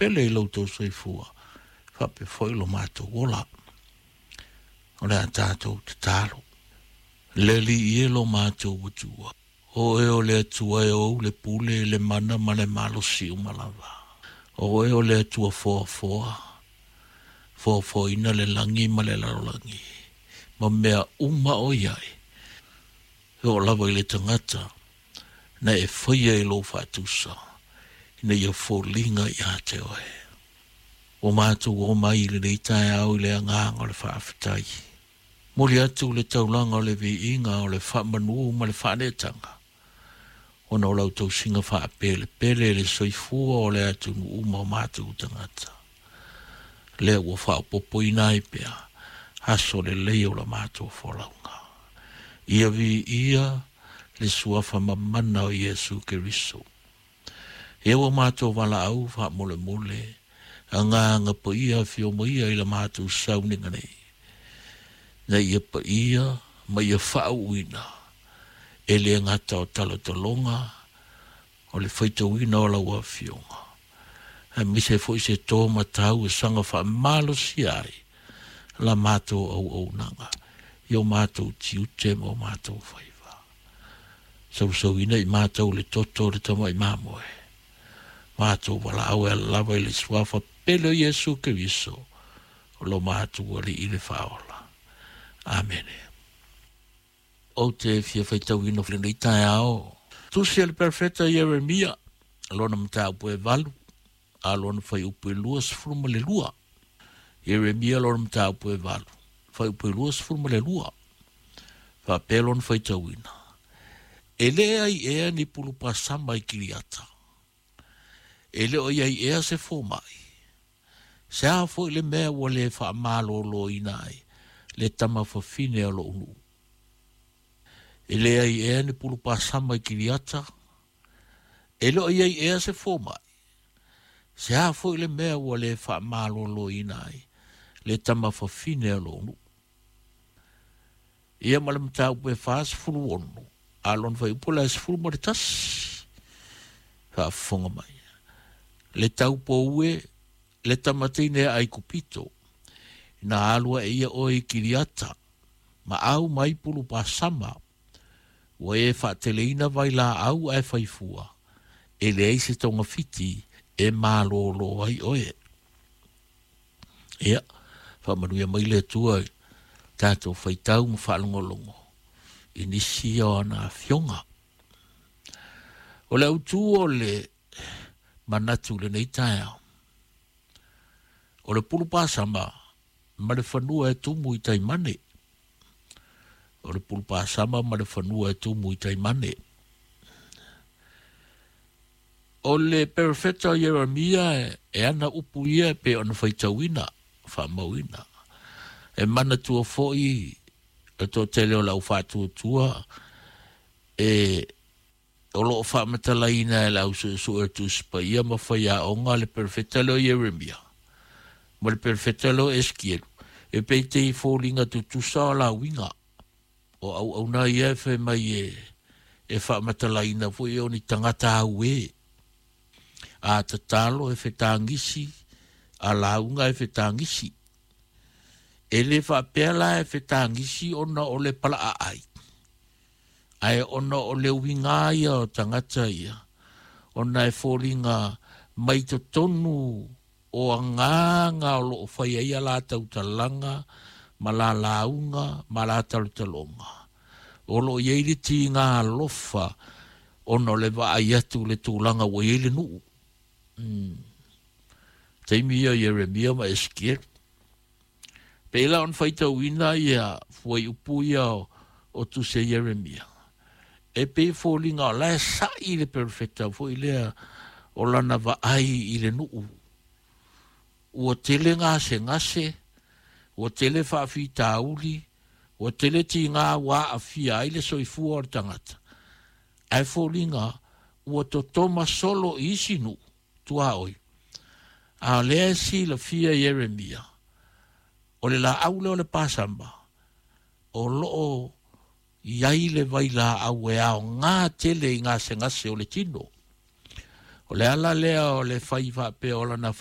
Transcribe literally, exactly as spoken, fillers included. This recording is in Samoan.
faapele i lo outou soifua faapea foi lo matou ola. O le a tatou tatalo. Le Alii e lo matou Atua, o oe o le Atua e ou le pule, le mana ma le malosi uma lava. O oe o le Atua foafoa, foafoaina le lagi ma le lalolagi, ma mea uma o i ai. E oo lava i le tagata na e faia i lou faatusa, ina ia foliga ia te oe. Ua matou oo mai i lenei taeao i le agaga o le faafetai. Momoli atu le taulaga o le viiga o le faamanu ma le faaneetaga, ona o lau tausiga faapelepele i le soifua o le atunuu ma o matou tagata. Lea ua faaopoopoina ai pea aso lelei o la matou folauga. Ia viia le suafa mamana o Iesu Keriso. Ia ua matou valaau faamolemole, agaga paia afio mai ai i la matou sauniga nei, na ia paia ma ia faauuina e le gata o talotaloga o le faitauina o lau afioga, aemaise foi se to matau e saga faamalosia ai la matou auaunaga i o matou tiute ma o matou faiva. Sausauina i matou le toto o le tamai mamoe, matou valaau e ala lava i le suafa pele o Iesu Keriso, o lo matou Alii le Faaola. Amene. Ou te fia faitauina lenei taeao. Tusi a le perofeta Ieremia, lona mataupu e valu, a lona fuaiupu e luasefulu ma le lua. Ieremia lona mataupu e valu, fuaiupu e luasefulu ma le lua. Faapea lona faitauina. E le ai ea ni pulupasama i Kiriata. E le o i ai ea se fomai. Se a foi le mea ua le faamaloloina ai le tama fafine o lou nuu. E le ai ea ni pulupasama i Kiriata. E le o i ai ea se fomai. Se a foi le mea ua le faamaloloina ai le tama fafine o lou nuu. Ia ma le mataupu e fasefulu ono, a lona fuaiupu la e sefulu ma le tasi. Faafofoga mai. Le taupou e le tamateine a Aikupito, ina alu ae ia oe i Kiriata, ma au mai pulupasama, ua e faateleina vailaau ae faifua, e leai se togafiti e malolo ai oe. Ia, faamanuia mai le Atua i tatou faitau ma faalogologo i nisi o ana afioga. O le autu o le manatu i lenei taeao, o le pulupasama ma le fanua e tumu i taimane. O le pulupasama ma le fanua e tumu i taimane. O le perofeta o Ieremia e ana upu ia e pei ona faitauina, faamauina. E manatua foi le toatele o le aufaatuatua e o loo faamatalaina e le ausuesue o Tusi Paia ma faiaoga le perofeta lea o Ieremia ma le perofeta lea o Esekielu, e pei te foliga tutusa o lauiga o auauna ia e fai mai e e faamatalaina foi o ni tagata auē. A tatalo e fetagisi, a lauga e fetagisi. E le faapea la e fetagisi ona o le palaaai, ae ona o le uiga ia o tagata ia, ona e foliga mai totonu o agaga o loo fai ai a latou talaga ma la lauga ma la talotaloga. O loo i ai le tiga alofa ona o le vaai atu le tulaga ua i ai le nuu. Mm. Taimi ia o Ieremia ma Esekielu. Pei la ona faitauina ia fuaiupu ia o, o Tusi a Ieremia. E pei foliga o la e sa'i le perofeta foi lea o lana vaai i le nuu. Ua tele gasegase, ua tele faafitauli, ua tele tiga ua aafia ai le soifua o le tagata. Ae foliga ua totoma solo i isi nuu tuaoi. A o lea e silafia Ieremia, o le laau lea o le pasama, o loo i ai le vailaau e aoga tele i gasegase o le tino. O le ala lea o le fai faapea o lana